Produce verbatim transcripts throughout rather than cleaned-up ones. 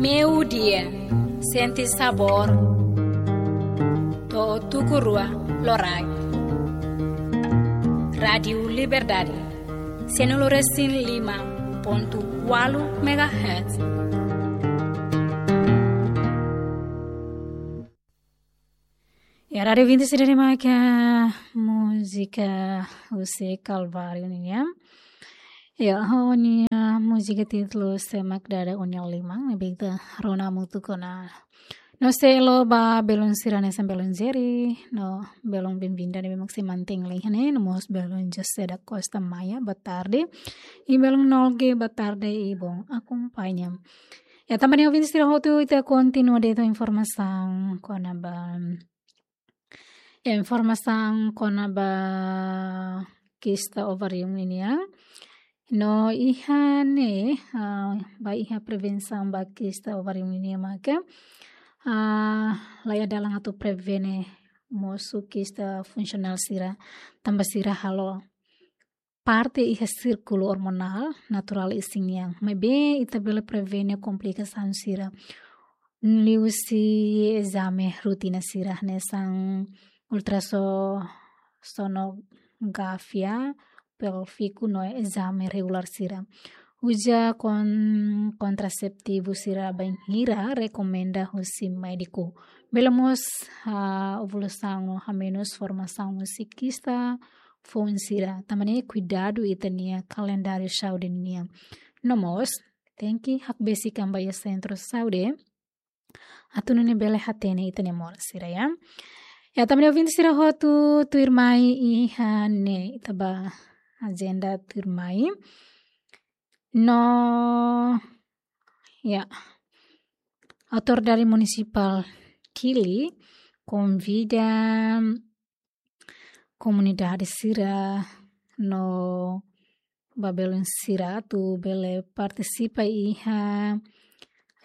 Meiudia, sente sabór. To'o tuku rua loraik. Rádiu Liberdade, sianulu resin lima pontu ualu megahertz. Ya, rádiu ouvinte sira, ida-ne'e mak múzika husi Kalváriu nian. Ya, ha'u-nia múzika títulu Semak Dada Ó-nia Liman, ne'ebé ita rona hamutuk ona. No seluk ba belun sira hanesan belun Jerry, no belun Benvinda ne'ebé mak sei mantein lai iha ne'e, no mós belun José da Costa Maia, boa tarde. I belun Nolge, boa tarde i bom akompaña. Ya, tanba ne'e ouvinte sira hotu, ita kontinua de'it ho informasaun kona-ba, informasaun kona-ba kista ovarium nian. No iha ne'e, ah, ba iha prevensaun ba kista ovarium nian maka, ah, laiha dalan atu prevene mosu kista funsionál sira, tanba sira halo parte iha sírkulu ormonál naturál isin nian. Maibé ita bele prevene komplikasaun sira liuhusi ezame rutina sira hanesan ultrasonografia pélviku no ezame regulár sira. Uza kon-, kontraseptivu sira bainhira rekomenda husi médiku. Bele mós, ah, ovasaun no hamenus formasaun husi kista foun sira. Tanba ne'e kuidadu ita-nia kalendáriu saúde nian. No mós, tenke hakbesik an ba iha sentru saúde atu nune'e bele hatene ita-nia moras sira, ya. Ya, tanba ne'e ouvinte sira hotu, tuirmai iha ne'e ita ba ajenda tuirmai. No, ya, Autoridade Munisipál Kili konvida komunidade sira no ba belun sira atu bele partisipa iha,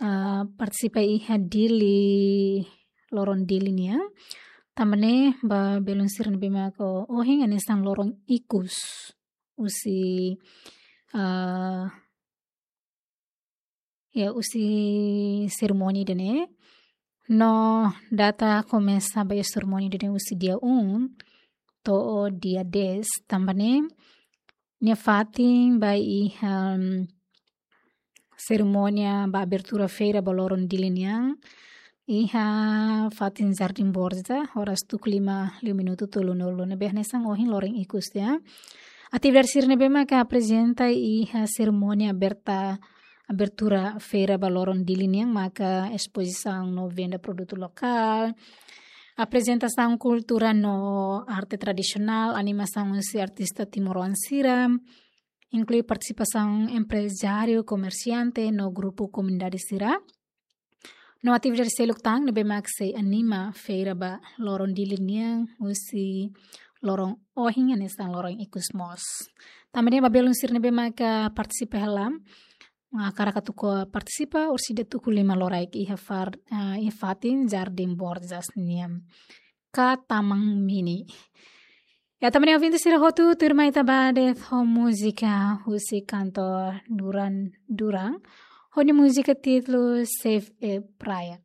ah, partisipa iha Dili, loron Dili nian. Tanba ne'e ba belun sira ne'ebé mak ohin hanesan loron ikus husi, ah, ya, husi serimónia ida-ne'e. No data komesa ba iha serimónia ida-ne'e husi dia um to'o dia dez, tanba ne'e nia fatin ba iha, em, serimónia ba abertura feira ba loron Dili nian iha fatin Jardim Borja, oras tuku lima liu minutu tolunulu, ne'ebé hanesan ohin loron ikus, ya. Atividade sira ne'ebé maka aprezenta iha serimónia aberta, abertura feira ba loron Dili nian maka espozisaun no venda produtu lokál, aprezentasaun kultura no arte tradisionál, animasaun husi artista timoroan sira, inklui partisipasaun emprezáriu, komersiante no grupu komunidade sira. No atividade seluk tan ne'ebé mak sei anima feira ba loron Dili nian husi loron ohin hanesan loron ikus mós. Tanba ne'e ba belun sira ne'ebé maka partisipa hela, ah, hakarak atu partisipa, orsida tuku lima loraik iha far-, ah, iha fatin Jardim Borjas nian ka Taman Mini. Ya, tanba ne'e ouvinte sira hotu, tuirmai ita ba de'it ho múzika husi kantór Duran Duran, ho nia múzika títulu Save a Praia.